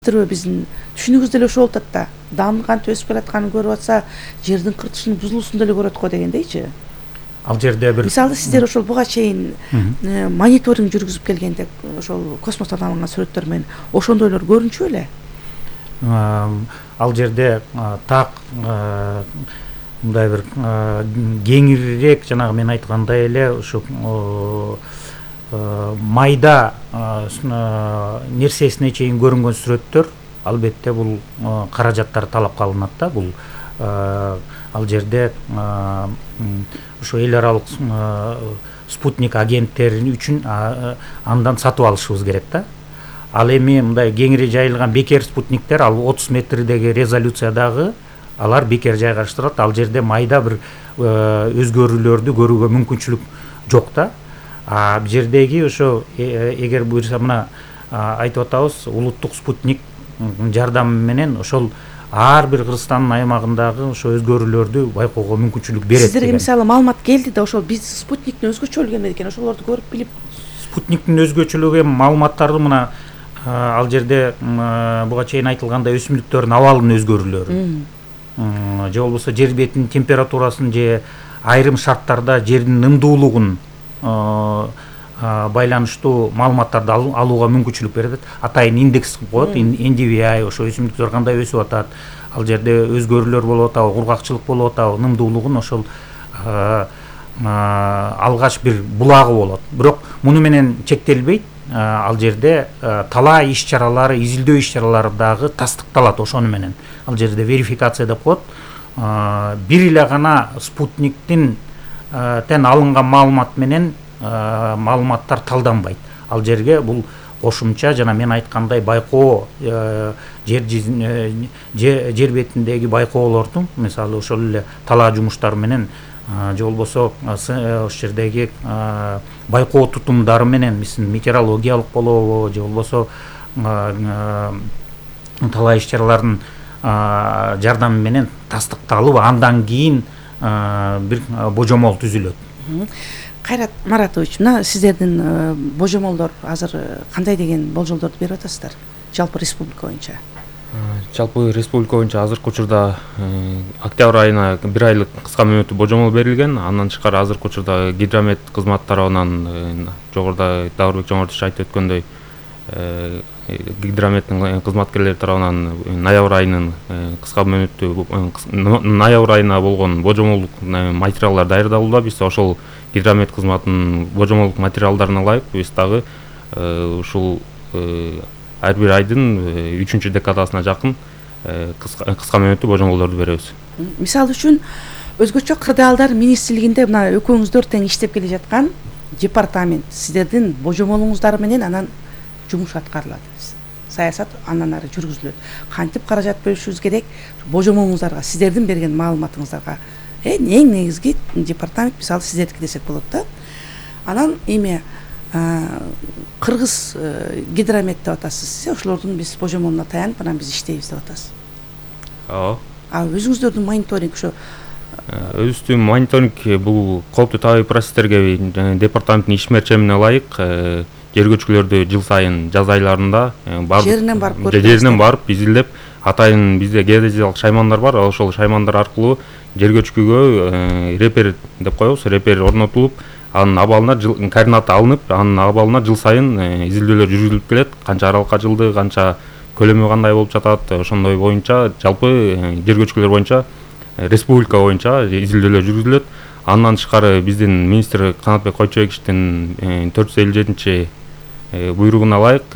Биздин түшүнүгүбүз деле ошол болуп атат да. Даамдын кантип өсүп келатканын көрүп атса, жердин кыртышынын бузулуусун деле көрөт го дегендейчи. Ал жерде бир мисалы сиздер ошол буга чейин мониторинг жүргүзүп келгенде ошол космостон алынган сүрөттөр менен ошондойлор көрүнчү беле? Ал жерде так мындай бир кеңирээк жанагы мен айткандай эле ушу майда нерсесине чейин көрүнгөн сүрөттөр албетте бул каражаттар талапка алынат да. Бул ал жерде ошо эл аралык спутник агенттери үчүн андан сатып алышыбыз керек да. Ал эми мындай кеңири жайылган бекер спутниктер ал 30 метрдеги резолюциядагы алар бекер жайгаштырат. Ал жерде майда бир өзгөрүүлөрдү көрүүгө мүмкүнчүлүк жок да. Бул жердеги ошо эгер буюрса мына айтып атабыз, улуттук спутник жардамы менен ошол ар бир Кыргызстандын аймагындагы ошо өзгөрүүлөрдү байкоого мүмкүнчүлүк берет. Сиздерге мисалы маалымат келди да, ошол биз спутниктин өзгөчөлүгү эмне экен, ошолорду көрүп билип. Спутниктин өзгөчөлүгү маалыматтарды мына ал жерде буга чейин айтылгандай өсүмдүктөрдүн абалынын өзгөрүүлөрү же болбосо жер бетинин температурасын же айрым шарттарда жердин ымдуулугун байланыштуу маалыматтарды алууга мүмкүнчүлүк берет. Атайын индекс коет, NDVI, ошо өсүмдүктөр кандай өсүп атат, ал жерде өзгөрүүлөр болуп атабы, кургакчылык болуп атабы, ымдуулугун ошол алгач бир булагы болот. Бирок муну менен чектелбейт. Ал жерде талаа иш-чаралары, изилдөө иш-чаралары дагы тастыкталат ошону менен. Ал жерде верификация деп коет. Бир эле гана спутниктин алынган маалымат менен маалыматтар талданбайт. Ал жерге бул кошумча жана мен айткандай байкоо жер бетиндеги байкоолордун, мисалы ошол эле талаа жумуштары менен же болбосо ошол жердеги байкоо тутумдары менен метеорологиялык болобу же болбосо талаа иш-чаралардын жардамы менен тастыкталып, андан кийин бир божомол түзүлөт. Кайрат Маратович, мына сиздердин божомолдор азыр кандай деген болжолдорду берип атасыздар жалпы республика боюнча? Жалпы республика боюнча азыркы учурда октябрь айына 1 айлык кыска мөөнөттүү божомол берилген. Андан тышкары азыркы учурда гидромет кызматы тарабынан жогоруда Даурбек Жомортович айтып өткөндөй гидрометтин кызматкерлери тарабынан ноябрь айынын кыска мөөнөттүү ноябрь айына болгон божомолдук материалдар даярдалууда. Биз ошол гидромет кызматынын божомолдук материалдарына ылайык биз дагы ушул ар бир айдын 3-декадасына жакын кыска мөөнөттүү божомолдорду беребиз. Мисалы үчүн өзгөчө кырдаалдар министрлигинде мына экөөңүздөр тең иштеп келе жаткан департамент сиздердин божомолуңуздар менен анан жумуш аткарылат. Саясат андан ары жүргүзүлөт. Кантип каражат бөлүшүбүз керек? Божомолуңуздарга, сиздердин берген маалыматыңыздарга эң негизги департамент мисалы сиздердики десек болот да. Анан эме Кыргыз гидромет деп атасыз. Ошолордун биз божомолуна таянып анан биз иштейбиз деп атасыз. Ооба. Өзүңүздөрдүн мониторинг ошо өзүбүздүн мониторинг бул кооптуу табигый процесстерге департаменттин иш мерчемине ылайык жер көчкүлөрдү жыл сайын жаз айларында жеринен барып изилдеп, атайын бизде геодезиялык шаймандар бар. Ошол шаймандар аркылуу жер көчкүгө репер деп коебуз, репер орнотулуп, анын абалына координаты алынып, анын абалына жыл сайын изилдөөлөр жүргүзүлүп келет. Канча аралыкка жылды, канча көлөмү кандай болуп жатат, ошондой боюнча жалпы жер көчкүлөр боюнча республика боюнча изилдөөлөр жүргүзүлөт. Андан тышкары биздин министр Канатбек Койчобековичтин 457 буйругуна ылайык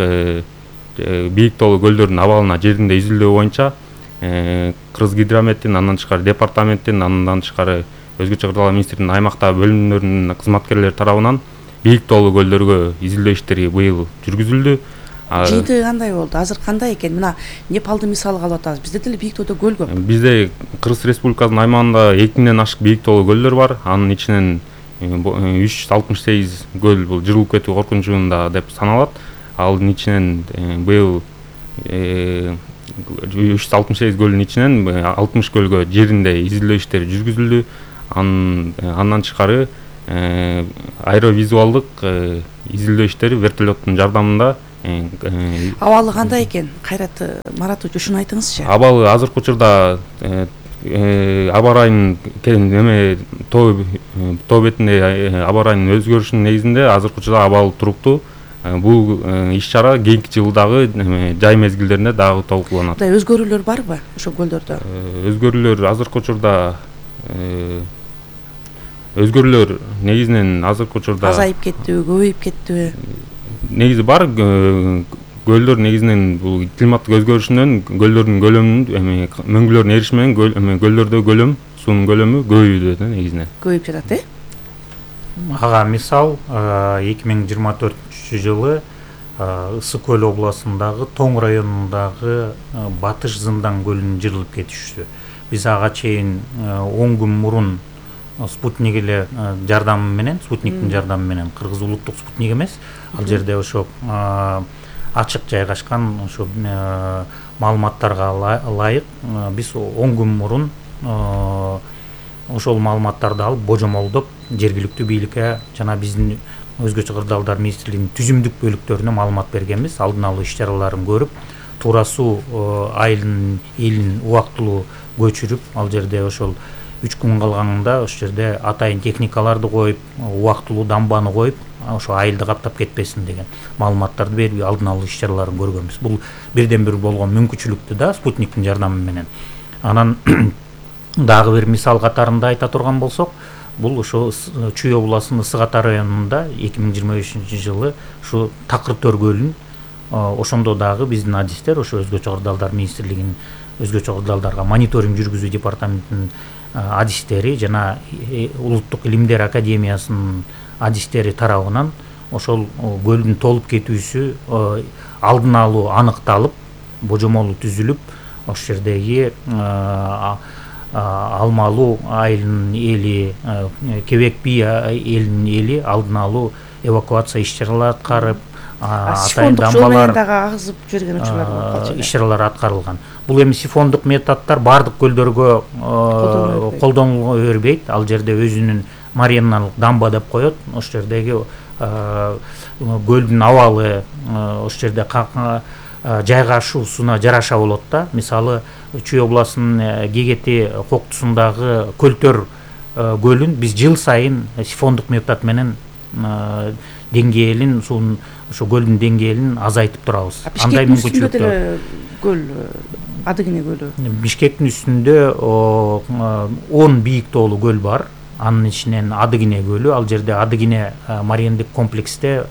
бийик тоолуу көлдөрдүн абалына жеринде изилдөө боюнча Кыргыз гидрометтин, андан тышкары департаменттин, андан тышкары өзгөчө кырдаалар министрлигинин аймактагы бөлүмдөрүнүн кызматкерлери тарабынан бийик тоолуу көлдөргө изилдөө иштери быйыл жүргүзүлдү. Жыйынтыгы кандай болду? Азыр кандай экен? Мына Непалды мисалга алып атабыз. Бизде деле бийик тоодо көл көп. Бизде Кыргыз Республикасынын аймагында 2000ден ашык бийик тоолуу көлдөр бар. Анын ичинен 368 көл бул жырылып кетүү коркунучунда деп саналат. Анын ичинен быйыл 368 көлдүн ичинен 60 көлгө жеринде изилдөө иштери жүргүзүлдү. Андан тышкары аэровизуалдык изилдөө иштери вертолеттун жардамында Абалы кандай экен? Кайрат Маратович, ушуну айтыңызчы. Абалы азыркы учурда аба ырайынын неме тоо бетинде аба ырайынын өзгөрүшүнүн негизинде азыркы учурда абалы туруктуу. Бул иш-чара кийинки жылы дагы жай мезгилдеринде дагы талкууланат. Мындай өзгөрүүлөр барбы ошо көлдөрдө? Өзгөрүүлөр азыркы учурда өзгөрүүлөр негизинен азыркы учурда азайып кеттиби, көбөйүп кеттиби? Негизи бар. Көлдөр негизинен бул климаттык өзгөрүшүнөн көлдөрдүн көлөмүнүн мөңгүлөрүнүн эриши менен көлдөрдө көлөм, суунун көлөмү көбөйүүдө да негизинен. Көбөйүп жатат, Ага мисал 2024 жылы Ысык көл областындагы Тоң районундагы Батыш Зындан көлүнүн жырылып кетиши. Биз ага чейин 10 күн мурун спутник эле жардамы менен, спутниктин жардамы менен, Кыргыз улуттук спутник эмес, ал жерде ошо ачык жайгашкан ошо маалыматтарга ылайык биз 10 күн мурун ошол маалыматтарды алып божомолдоп жергиликтүү бийликке жана биздин өзгөчө кырдаалдар министрлигинин түзүмдүк бөлүктөрүнө маалымат бергенбиз. Алдын алуу иш-чараларын көрүп, туура суу айылынын элин убактылуу көчүрүп, ал жерде ошол 3 күн калганында ошол жерде атайын техникаларды коюп, убактылуу дамбаны коюп, ошо айылды каптап кетпесин деген маалыматтарды берип, алдын алуу иш-чараларын көргөнбүз. Бул бирден бир болгон мүмкүнчүлүктү да спутниктин жардамы менен. Анан дагы бир мисал катарында айта турган болсок, бул ошо Чүй областынын Ысык Ата районунда 2025 жылы ушу Такыр Төр көлүн ошондо дагы биздин адистер, ошо өзгөчө кырдаалдар министрлигинин өзгөчө кырдаалдарга мониторинг жүргүзүү департаментинин адистери жана Улуттук илимдер академиясынын адистери тарабынан ошол көлдүн толуп кетүүсү алдын алуу аныкталып, божомолу түзүлүп, ошол жердеги Алмалуу айылынын эли, Кебек би элинин эли алдын алуу эвакуация иш-чаралары аткарып, атайын дамбалар агызып жүргөн учурлар иш-чаралар аткарылган. Бул эми сифондук методдор бардык көлдөргө колдонула бербейт. Ал жерде өзүнүн мариналык дамба деп коет. Ошол жердеги көлдүн абалы ошол жерде жайгашуусуна жараша болот да. Мисалы Чүй областынын Кегети коктусундагы Көлтөр көлүн биз жыл сайын сифондук метод менен деңгээлин, суунун ошо көлдүн деңгээлин азайтып турабыз. Андай мүмкүнчүлүктөр көл Адыгине көлү. Бишкектин үстүндө 10 бийик тоолуу көл бар. Анын ичинен Адыгине көлү, ал жерде Адыгине мариендик комплексте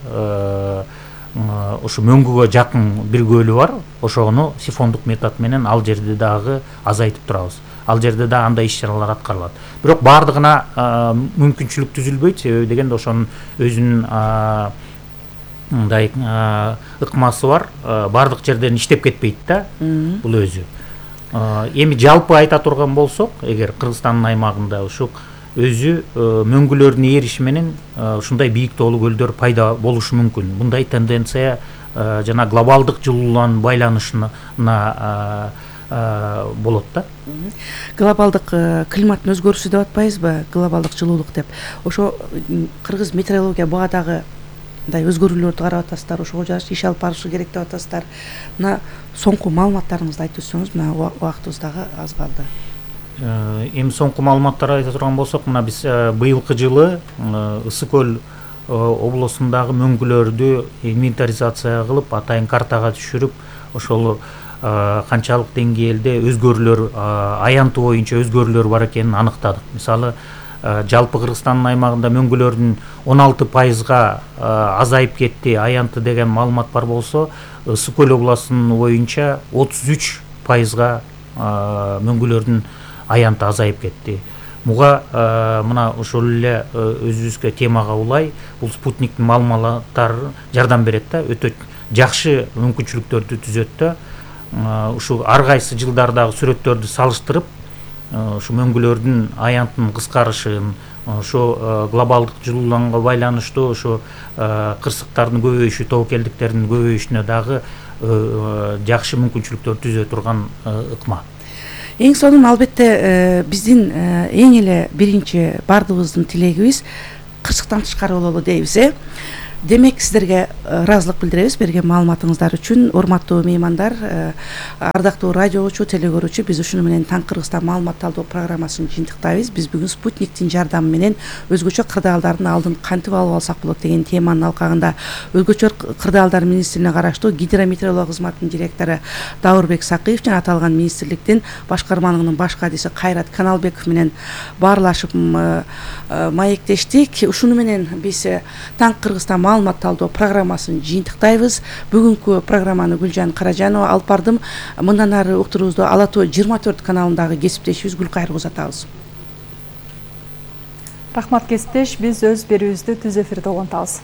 ошо мөңгүгө жакын бир көлү бар. Ошону сифондук метод менен ал жерде дагы азайтып турабыз. Ал жерде да андай иш-чаралар аткарылат. Бирок бардыгына мүмкүнчүлүк түзүлбөйт, себеби дегенде ошонун өзүнүн мындай ыкмасы бар. Бардык жерден иштеп кетпейт да бул өзү. Эми жалпы айта турган болсок, эгер Кыргызстандын аймагында ушу өзү мөңгүлөрдүн эриши менен ушундай бийик тоолуу көлдөр пайда болушу мүмкүн. Мындай тенденция жана глобалдык жылуулугунун байланышына болот да. Глобалдык климаттын өзгөрүшү деп атпайбызбы? Глобалдык жылуулук деп. Ошо Кыргыз метеорология буга дагы мындай өзгөрүүлөрдү карап атасыздар, ошого жараша иш алып барышы керек деп атасыздар. Мына соңку маалыматтарыңызды айтып өтсөңүз, мына убактыбыз дагы аз калды. Эми соңку маалыматтарды айта турган болсок, мына биз быйылкы жылы Ысык көл областындагы мөңгүлөрдү инвентаризация кылып, атайын картага түшүрүп, ошол канчалык деңгээлде өзгөрүүлөр, аянты боюнча өзгөрүүлөр бар экенин аныктадык. Мисалы, жалпы Кыргызстандын аймагында мөңгүлөрдүн 16%-га азайып кетти, аянты деген маалымат бар болсо, Ысык көл областынын боюнча 33%-га мөңгүлөрдүн аянты азайып кетти. Буга мына ошол эле өзүбүзгө темага улай, бул спутниктин маалыматтары жардам берет да, өтө жакшы мүмкүнчүлүктөрдү түзөт да. Ушу ар кайсы жылдардагы сүрөттөрдү салыштырып, ушу мөңгүлөрдүн аянтынын кыскарышын, ошо глобалдык жылууланууга байланыштуу ошо кырсыктардын көбөйүшү, тобокелдиктердин көбөйүшүнө дагы жакшы мүмкүнчүлүктөр түзө турган ыкма. Эң сонун албетте биздин эң эле биринчи бардыгыбыздын тилегибиз кырсыктан тышкары бололу дейбиз. Демек сиздерге ыраазылык билдиребиз берген маалыматыңыздар үчүн. Урматтуу меймандар, ардактуу радиочу, телекөрүүчү, биз ушуну менен Таң Кыргызстан маалымат талдоо программасын жыйынтыктайбыз. Биз бүгүн спутниктин жардамы менен өзгөчө кырдаалдардын алдын кантип алып алсак болот деген теманын алкагында Өзгөчө кырдаалдар министрлигине караштуу гидрометеорология кызматынын директору Даурбек Сакыев жана аталган министрликтин башкармалыгынын баш кадиси Кайрат Каналбеков менен баарлашып маектештик. Ушуну менен биз Таң Кыргызстан маалымат талдоо программасын жыйынтыктайбыз. Бүгүнкү программаны Гүлжан Каражанова алып бардым. Мындан ары уктуруубузду Ала Тоо 24 каналындагы кесиптешибиз Гүлкайыр узатабыз. Рахмат кесиптеш, биз өз берүүбүздү түз эфирде улантабыз.